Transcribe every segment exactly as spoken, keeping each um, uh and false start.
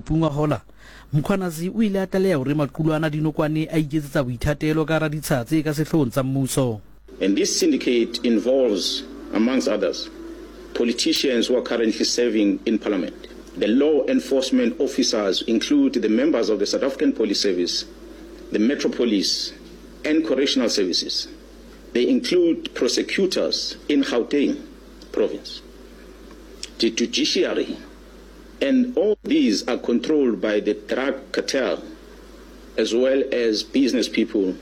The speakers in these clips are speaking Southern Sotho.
Phupu ngwahola, Mkhwanazi o ile a tlaleha hore maqulwana a dinokwane a iketsetsa boithatelo ka hara ditsha tse ka sehloohong tsa mmuso. And this syndicate involves, amongst others, politicians who are currently serving in parliament. The law enforcement officers include the members of the South African Police Service, the Metro Police and Correctional Services. They include prosecutors in Gauteng province, the judiciary, and all these are controlled by the drug cartel as well as business people.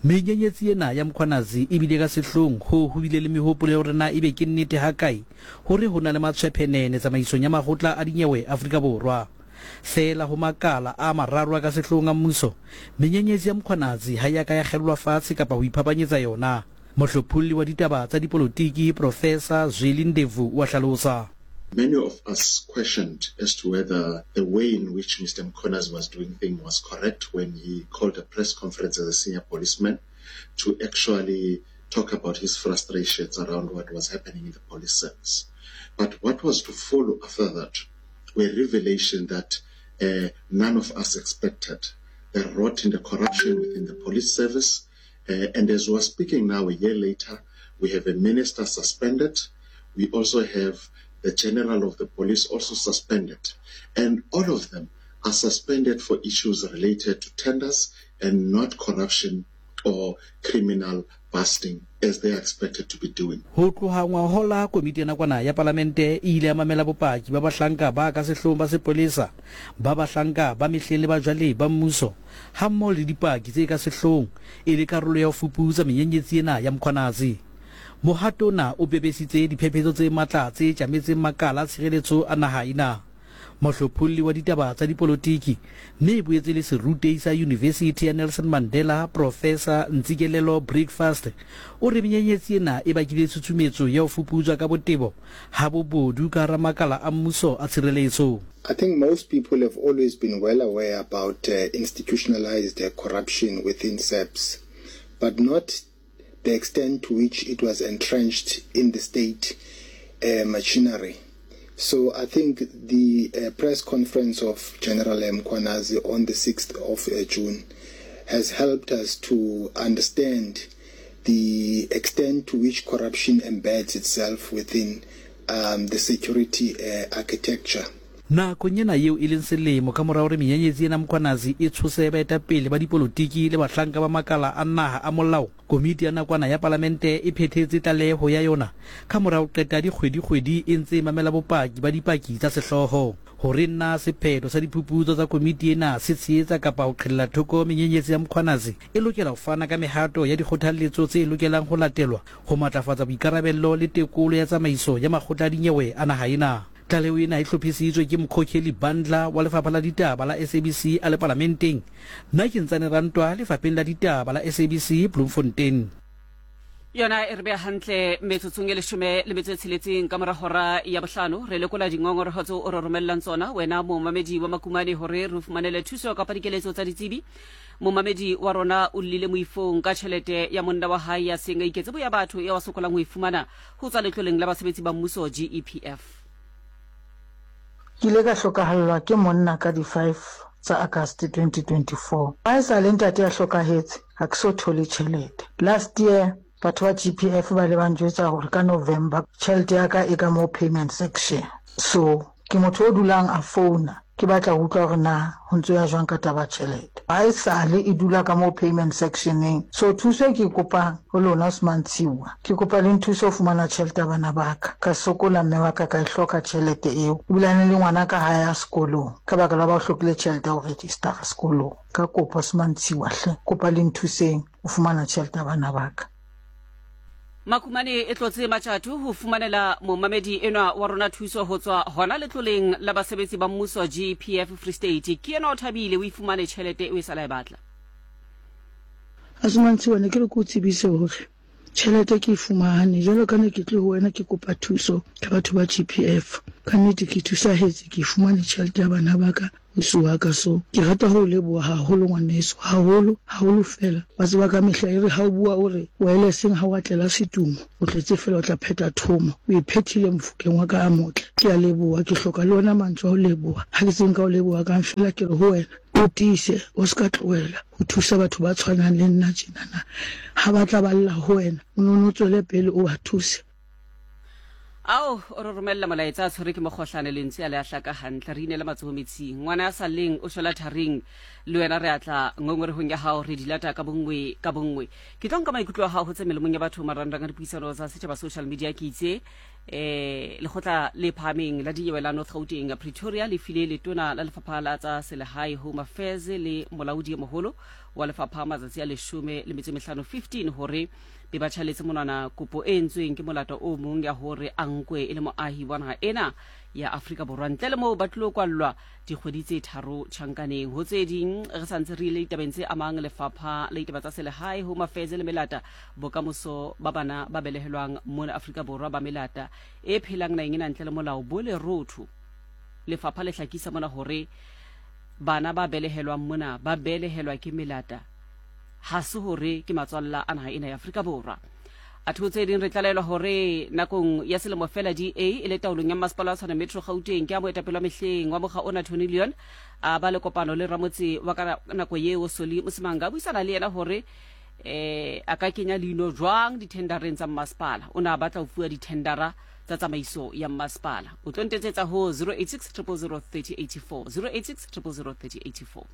Menyenyetsi ena ya Mkhwanazi e bile ka sehloohong hoo ho bile le mehopolo ya hore na ebe ke nnete hakae hore ho na le matshwephenene tsamaisong ya makgotla a dinyewe Afrika Borwa. Feela ho makala a mararo a ka sehloohong a mmuso, menyenyetsi ya Mkhwanazi ha e a ka ya kgellwa fatshe kapa ho iphapanyetsa yona. Mohlopholli wa ditaba tsa dipolotiki Profesa Zweli Ndevu o a hlalosa. Many of us questioned as to whether the way in which Mister Mkhwanazi was doing things was correct when he called a press conference as a senior policeman to actually talk about his frustrations around what was happening in the police service. But what was to follow after that were revelations that, uh, none of us expected. The rot and the corruption within the police service. Uh, and as we are speaking now, a year later, we have a minister suspended. We also have the general of the police also suspended. And all of them are suspended for issues related to tenders and not corruption or criminal busting as they are expected to be doing. Ho tloha ngwahola, komiti ya nakwana ya palamente e ile ya mamela bopaki ba bahlanka ba ka sehloohong ba sepolesa, ba bahlanka ba mehleng le ba jwale ba mmuso, hammoho le dipaki tse ka sehloohong e le karolo ya ho fuputsa menyenyetsi ena ya Mkhwanazi. Mohato ona o pepesitse diphephetso tse matla tse tjametseng makala a tshireletso a naha ena. Mohlopholli wa ditaba tsa dipolotiki mme e boetse le serutehi sa Yunivesithi ya Nelson Mandela, Profesa Ntsikelelo Breakfast, o re menyenyetsi ena e bakile tshutshumetso ya ho fuputswa ka botebo ha bobodu ka hara makala a mmuso a tshireletso. I think most people have always been well aware about, uh, institutionalized, uh, corruption within S A P S, but not the extent to which it was entrenched in the state, uh, machinery. So I think the, uh, press conference of General Mkhwanazi on the sixth of, uh, June has helped us to understand the extent to which corruption embeds itself within, um, the security, uh, architecture. Nakong ena eo e leng selemo ka mora hore menyenyetsi ena Mkhwanazi e tshose baetapele ba dipolotiki le bahlanka ba makala a naha a molao, komiti ya nakwana ya palamente e phethetse tlaleho ya yona ka mora ho qeta dikgwedikgwedi e ntse e mamela bopaki ba dipaki tsa sehlooho. Hore na sephetho sa diphuputso tsa komiti ena se tshehetsa kapa ho qhelela thoko menyenyetsi ya Mkhwanazi, e lokela ho fana ka mehato ya dikgothalletso tse lokelang ho latelwa ho matlafatsa boikarabello le tekolo ya tsamaiso ya makgotla a dinyewe a naha ena. Tlaleho ena e hlophisitswe ke Mokhokheli Bandla wa Lefapha la Ditaba la S A B C a le Palamenteng. Nna ke Ntsane Rantwa Lefapheng la Ditaba la S A B C Bloemfontein. Yona e re beha hantle metsotsong e leshome le metso e tsheletseng ka mora hora ya bohlano. Re lekola dingongoreho tseo o re romellang tsona wena momamedi wa Makumane hore re fumanele thuso kapa dikeletso tsa ditsebi. Momamedi wa rona o llile moifong ka tjhelete ya monna wa hae ya seng a iketse boya batho eo a sokolang ho e fumana ho tswa letloleng la basebetsi ba mmuso G E P F. Ke ile ka hlokahallwa ke monna ka di-five tsa August twenty twenty-four. Ha esale ntate a hlokahetse, ha ke so thole tjhelete. Last year batho ba G P F ba ile ba njwetsa hore ka November tjhelete ya ka e ka mo payment section. So ke motho o dulang a founa, ke batla ho utlwa hore na ho ntso ya jwang ka taba ya tjhelete. Ha esale e dula ka mo payment sectioneng. So thuso e ke e kopang ho lona Osman Tshiwa, ke kopa le nthuse ho fumana tjhelete ya bana ba ka. Ka sokola mme wa ka ka e hloka tjhelete eo. Ebilane le ngwana ka ha ya sekolong ka baka la ba o hlokile tjhelete ya ho register sekolong. Ka kopo Osman Tshiwa hle, kopa le nthuseng ho fumana tjhelete ya bana ba ka. Makumane e tlotse matjatho ho fumanela momamedi enwa wa rona thuso ho tswa hona letloleng la basebetsi ba mmuso G P F Free State. Ke yena o thabile o ifumane tjhelete eo e sa la e batla. Osman Tshiwa, ne ke re ke o tsebise hore tjhelete ke e fumane. Jwalo ka ne ke tle ho wena ke kopa thuso ka batho ba G P F. Ka nnete ke thusahetse, ke fumane tjhelete ya bana ba ka. Ausi wa ka. So ke rata ho o leboha haholo ngwaneso, haholo, haholo feela. Wa tseba ka mehla e re ha o bua o re wele seng ha wa tlela setumo, o tletse feela o tla phetha thomo. O e phethile Mofokeng wa ka a motle. Ke a leboha, ke hloka le ona mantswe a ho leboha. Ha ke tsebe nka o leboha kang feela ke re ho wena o tiise, o se ka tlohela ho thusa batho ba tshwanang le nna tjenana. Ha ba tla ba lla ho wena, o no no tswele pele o ba thuse. Ao o re romella molaetsa a tshwere ke mokgohlane, lentswe a le a hlaka hantle. Re inele matsoho metsing, ngwana ya sa lleng o shwela tharing. Le wena re atla ngongorehong ya hao, re di lata ka bonngwe ka bonngwe. Ke tlo nka maikutlo a hao ho tse melemong ya batho marangrang a dipuisano tsa setjhaba social media. Ke itse eh lekgotla le phahameng la dinyewe la North Gauteng Pretoria le file letona la lefapha la tsa selehae Home Affairs le molaodi e moholo wa lefapha matsatsi a leshome le metso e mehlano fifteen hore be ba tjhaletse monwana kopo e entsweng ke molato o mong ya hore a nkwe e le moahi wa naha ena ya Afrika Borwa, ntle le moo ba tlilo kwallwa dikgwedi tse tharo tjhankaneng. Ho tse ding re sa ntse re ile ditabeng tse amang lefapha la ditaba tsa selehae Home Affairs le melata, bokamoso ba bana ba belehelwang mona Afrika Borwa ba melata e phelang naheng ena ntle le molao bo lerotho. Lefapha le hlakisa mona hore bana ba belehelwang mona ba belehelwa ke melata, ha se hore ke matswalla a naha ena ya Afrika Borwa. Atho tse ding re tlalelwa hore nakong ya selemo fela D A e le taolong ya Masepala wa Tshwane Metro Gauteng ke a moetapele wa mehleng wa mokga ona Tony Leon a ba le kopano le ramotse wa ka nako yeo Soli Mosimanga, a buisana le yena hore eh a ka kenya leino jwang dithendareng tsa masepala. O ne a batla ho fuwa dithendara tsa tsamaiso ya masepala. O tlo ntetsetsa ho zero eight six triple zero thirty eighty four, zero eight six triple zero thirty eighty four.